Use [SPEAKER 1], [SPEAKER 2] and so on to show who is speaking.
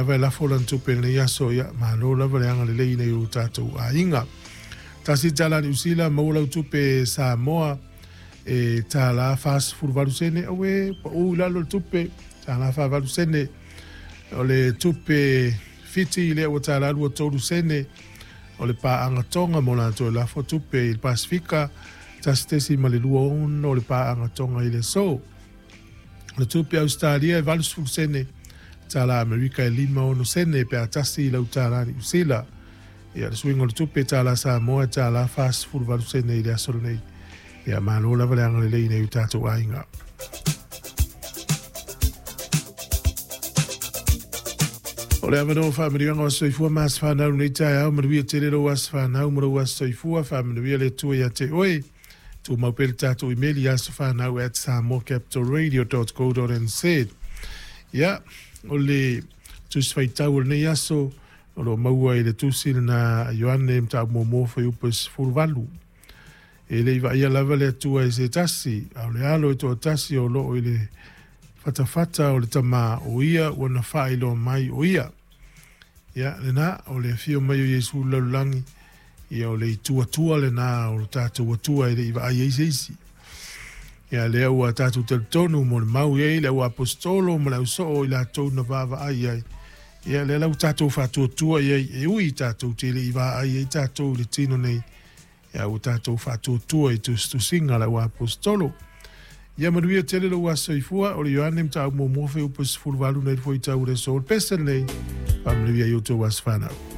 [SPEAKER 1] Lava e lafo lana tupe i lenei aso, ia, malo lava le agalelei i nai o tatou aiga. $1 Niu Sila, maua lau tupe Samoa e $1.48 sene, aue, pau i lalo le tupe, $1.48 sene. O le tupe Fiti lea ua $1.23 sene, o le paaga Tonga mo latou e lafo tupe i le Pasefika, 1.26 le paaga Tonga i le aso. O le tupe Ausetalia e 80 sene, tala Amerika e 56 sene pe a tasi i lau tala Niu Sila. Ia, le suiga o le tupe tala Samoa e $1.48 sene i le aso lenei. Ia, malo lava le agalelei i nai o tatou aiga. O le avanoa faamanuiaga o soifua ma aso fanau lenei taeao, manuia tele lou aso fanau ma lou aso soifua, faamanuia le Atua ia te oe. Tumau pea le tatou imeli asofanau@samoacapitalradio.co.nz. Ia, o le tusi faitau o lenei aso, o lo o maua i le tusi lena a Ioane Mataupu muamua fuaiupu e 18. E le i vaaia lava le Atua e se tasi, a o le alo e toatasi o loo i le fatafata o le Tama, o ia ua na faailoa mai o ia. Ia, lena, o le afio mai o Iesu i le lalolagi, ia o le itu Atua lena o le tatou Atua e le i vaai ai se isi. Ia, lea ua tatou talitonu mo le mau i ai le au aposetolo ma le ausoo i latou na vaavaai ai. Ia, lea la ua tatou faatuatua i ai, e ui tatou te le i vaai ai tatou i le tino nei, ia ua tatou faatuatua i tusitusiga a le au aposetolo. Ia manuia tele lou aso soifua, o le Ioane Mataupu muamua fuaiupu 18 nei le fuaitau o le aso o le pese lenei. Faamanuia i outou aso fanau.